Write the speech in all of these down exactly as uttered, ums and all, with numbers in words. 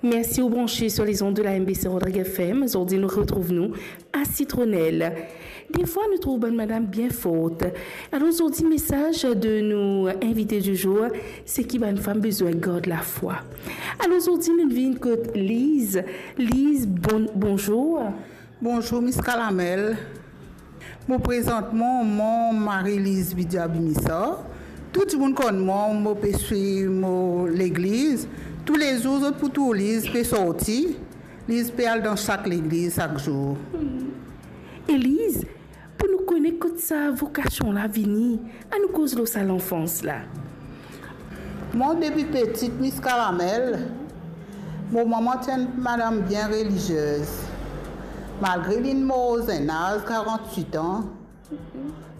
Mersi ou branche sur les ondes de la M B C Rodrigues F M. Zordi nou retrouv nou a Sitronel. Defwa nou trouv bann madam bien fort. Alor zordi mesaz de nou invite du jour, se ki bann fam bizin gard lafwa. Alor zordi nou vinn kot Liz. Liz, bon, bonzour. Bonzour Miss Kalamel. Mo prezant mwa, mo Marie-Lise Vidya Bimisa. Tou dimoun konn mwa, mo pe swiv mo legliz. Toulezour zot pou trouv Liz pe sorti. Liz pe al dan sak legliz sak zour. E Liz, pou nou kone kot sa vokasion la vini, anou koz lor sa lanfans la. Mwa depi peti, Miss Kalamel, mo mama ti enn madam bien reliziez. Malgre linn mor zenn az, karant-wit an,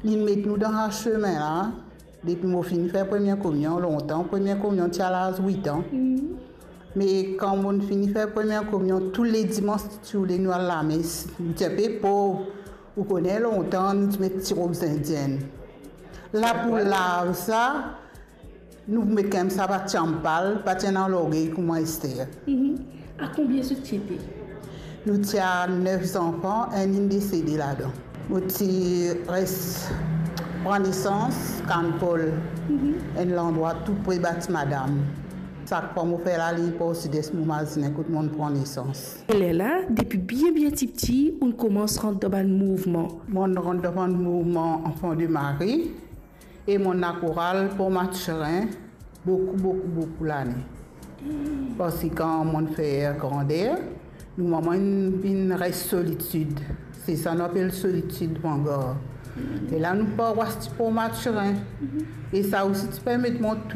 linn met nou dan sa semin la. Depi mo finn fer premie kominyon, lontan, premie kominyon ti a laz wit an. Me kan mo finn fer premie kominyon, tou le dimans ti oule nou al lames. Nou ti enpe pov, ou kone lontan nou ti met ti rob zindienn. La pou lav sa, nou met koumsa pa ti anpal, pa ti ena lorgey kouma ester. A konbien zot ti ete? Nou ti a nef zanfan, enn inn desede ladan. Mo ti res pran nesans Kann Pol, enn landrwa tou pre Bati Madam. Sak fwa mo fer laliy por sides, mo mazinn kot monn pran nesans. E lerla, depi bien bien tipti, ou'nn koumans rant dan bann mouvman? Monn rant dan bann mouvman Enfants de Marie e monn lakoral Port Mathurin boukou, boukou, boukou lane. Parski kan monn fer grander, nou mama inn vinn res solitid. Se sa nou apel solitid vangar. E la nou parwas ti Port Mathurin. E sa osi ti permet mwa tou